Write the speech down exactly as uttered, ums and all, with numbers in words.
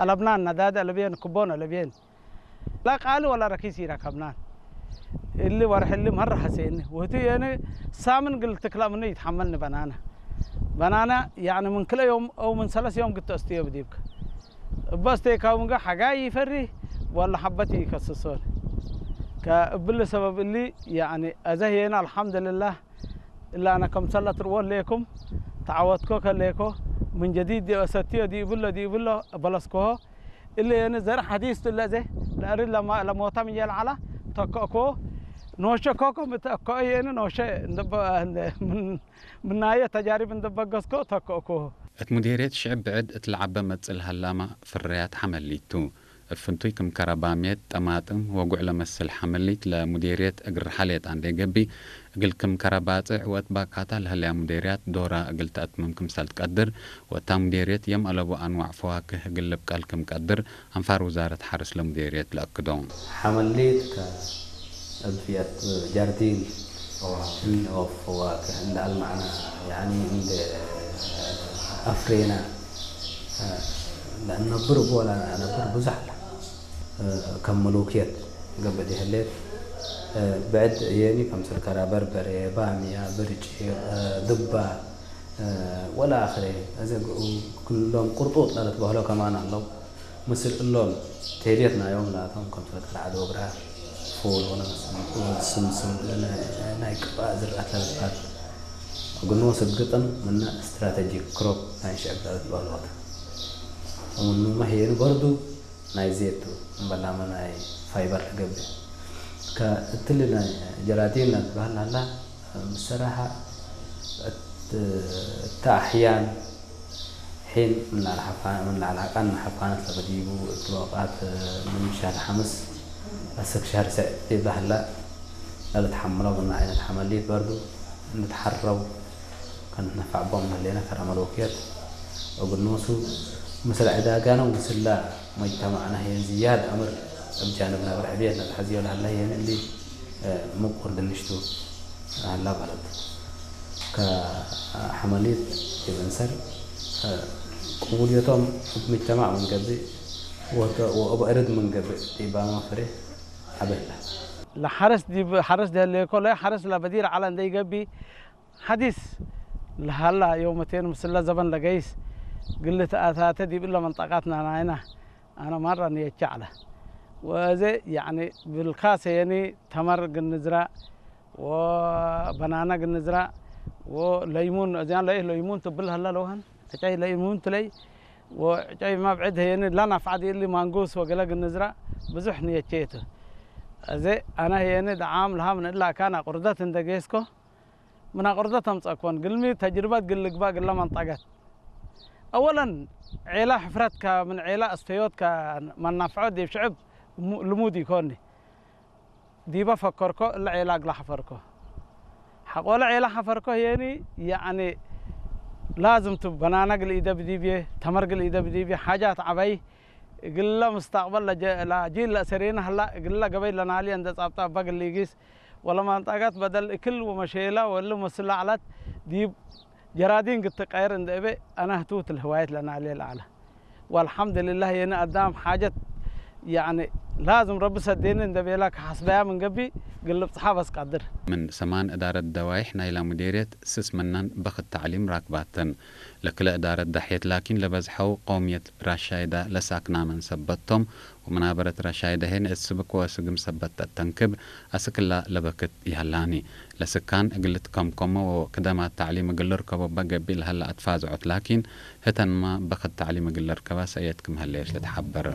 አለብናን፣ ነዳድ አለብየን፣ ክቦን አለብየን። ላ ቃሊ ወላ ረኪስ ኢረከብናን። እሊ ወርሕ እሊ መረ ሐሴኒ። ወህቱ የኒ ሳምን ግል ትክላ ምኑ ይትሐመልኒ በናና። በናና ያኒ ምን ክልኤ ዮም አው ምን ሰለስ ዮም ግድ ተአስትዮ ብዲብከ። እበ አስቴካው ምንገ ሐጋይ ይፈሪ ወላ ሐበት ይከስሶን። ከእብሊ ሰበብ እሊ ያኒ አዘ ህየኒ አልሐምድልላህ እለ አነ ከምሰል አትርወ ሌኩም ተዐወትኮ ከሌኮ ምን ጀዲድ ዲብ አሰትዮ ዲብሎ ዲብሎ በለስኮሆ። እሊ የኒ ዘር ሐዲስ ቱ ለዘ ለአሪ ለማ-፣ ለሞታ ምንዬ ለዐላ ተከእኮ። ኖሸ ኮኮ ምትአከኦ የኒ ኖሸ እንደ በ-፣ እንደ ምን-፣ ምናየ ተጃሪብ እንደ በገስኮ ተከእኮ። እት ሙዴርየት ሽዕብ ብዕድ እት ለዐበ መጽእ ለሀላመ ፍርያት ሐመሊት ቱ። እብ ፍንቱይ ክም ከረባምየት፣ ጠማጥም ወጉዕ ለመስል ሐመሊት ለሙዴርየት እግል ረሐ ሌጣ እንዴ ገብእ፣ እግል ክም ከረ ባጽዕ ወእት ባካታ ለህለያ ሙዴርያት ዶራ እግል ተአትምም ክምሰል ትቀድር፣ ወእታ ሙዴርየት የም አለቡ አንዋዕ ፈዋክህ እግል ልብቀል ክም ቀድር አንፋር ውዛረት ሐርስ ለሙዴርየት ለአክዶ። ሐመሊት ከእብ ፊአት ጃርዲን ፈዋክህ። እን ኦፍ ፈዋክህ እንደ አልማዕና፣ ያኒ እንደ አፍሬና፣ ለእነብር እቡ ወለአነብር ብዙሕ ዐለ። ከም መሎክየት ገብእ ዲህሌት፣ ብዕድ ህዬኒ ከምሰል ከረ በርበሬ፣ ባምያ፣ ብርጪቅ፣ ድባ፣ ወለአክሬ። አዜ ክሎም ቅርጡጥ ለልትበህሎ ከማን ዐለው። ምስል እሎም ቴልየት ናዮም ላቶም ከምሰል ከረ ዐዶግራ፣ ፉል ወለመስል፣ ስምስም፣ ናይ ቅባእ ዝርአት ለልትበህል። እግል ኖስ እብ ግጥም ምነ ስትራተጂክ ክሮፕ ናይ ሽዕብ ለልትበህሎ ተ። ወምኑመ ህዬኒ በርዱ ናይ ዜት ቱ፣ እምበላመ ናይ ፋይበር ለገብእ። ከእትሊ ናይ ጀራዲን ለልትበህል ሀላ፣ ብሰራሐ እት፣ እተ አሕያን ሒን ምን ለዐለ ሐፋ-፣ ምን ለዐለ አቃን ሐፋነት ለበዲቡ፣ እት ወቃት ምን ሸህር ሐምስ አስክ ሸህር ሰዕ ዲብለ ሀላ ለልትሐምለው ምን አይነት ሐመሊት በርዱ እንድትሐረው ከንትነፈዕ ቦም ለህሌነ ከረ መሎክየት እግል ኖሱ ምስል ዕዳጋነ ወምስለ መጅተማዕነ ህዬን ዝያድ አምር እብ ጃንብነ እብ ርሕብየት ነትሐዝዮ ለሀለ ህዬን እሊ ምቁር ድንሽ ቱ ለሀላ በለድ። ከሐመሊት ዲብ እንሰር ቅቡልየቶም እብ ምጅተማዕ ምን ገብእ ወእብ እርድ ምን ገብእ ዲባመ ፍሬ ዐቢ ህለ። ለሐርስ ዲብ ሐርስ ደህሌኮ ለሐርስ ለበዲር ዐለ እንዴ ኢገብእ ሐዲስ ለሀላ ዮመቴን ምስለ ዘበን ለገይስ ግል ተአታተ ዲብ እለ መንጠቃት ናናይና አነ ማራ ንየቼ ዐለ። ወአዜ ያኒ ብልካሰ የኒ ተመር ግንዝራ ወበናና ግንዝራ ወለይሙን፣ አዜ ለይሙን ትብል ሀላ ለውሀን ዕጨይ ለይሙን ትለይ ወዕጨይ መብዕድ ህየኒ ለናፍዐ ዲእሊ ማንጉስ ወገለ ግንዝራ ብዙሕ ንየቼ ቱ። አዜ አነ ህየኒ ደዓም ለሀ ምን እለ አካን አቁርደት እንደ ጌስኮ ምን አቁርደት አምጸእኮን። ግልሚ ተጅርበት ግል ልግባእ ግለ መንጠቀት። አወለን ዔላ ሕፍረትከ ምን ዔላ አስተዮትከ መናፍዖ ዲብ ሽዕብ ሙ-፣ ልሙድ ኢኮኒ። ዲበ ፈከርኮ እለ ዔላ እግለ ሐፈርኮ። ሐቆለ ዔላ ሐፈርኮ ህዬኒ ያኒ ላዝም ቱ በናና እግል ኢደብ ዲብዬ፣ ተመር እግል ኢደብ ዲብዬ፣ ሓጃት ዐበይ እግለ ምስተቅበል ለጀ-፣ ለጂል ለአሰሬነ ሀላ እግለ ገበይ ለናልየ እንደ ጻብጣ እበ እግል ኢጊስ ወለመንጠቀት በደል እክል ወመሼለ ወእሊ መስል ለዐለት ዲብ ጀራዲን ግትቀየር እንደ እቤ አነ ህቱት ለህዋየት ለናልየ ለዐለ። ወአልሐምድልላህ የነ አዳም ሓጀት ያኒ ላዝም ረቢ ሰዴኒ እንደ ቤላ ከሐስበያ ምን ገብእ እግል ልብጽሓ በስ ቀድር። ምን ሰማን እዳረት ደዋይሕ ናይላ ሙዴርየት ስስ ምነን በክት ተዕሊም ራክባተን። ለክለ እዳረት ዳሕየት ላኪን ለበዝሐው ቀውምየት ራሻይዳ ለሳክናመን ሰበት ቶም፣ ወመናበረት ራሻይዳ ሄን እት ስብክ ወስግም ሰበት ተተንክብ፣ አስክላ ለበክት ይሀላኒ። ለስካን እግል ልትከምከሞ ወክደማት ተዕሊም እግል ልርከቦ እበ ገብእ ለሀለ አትፋዝዖት ላኪን፣ ህተንማ በክት ተዕሊም እግል ለርከባ ሰእየት ክም ሀሌት ልትሐበር።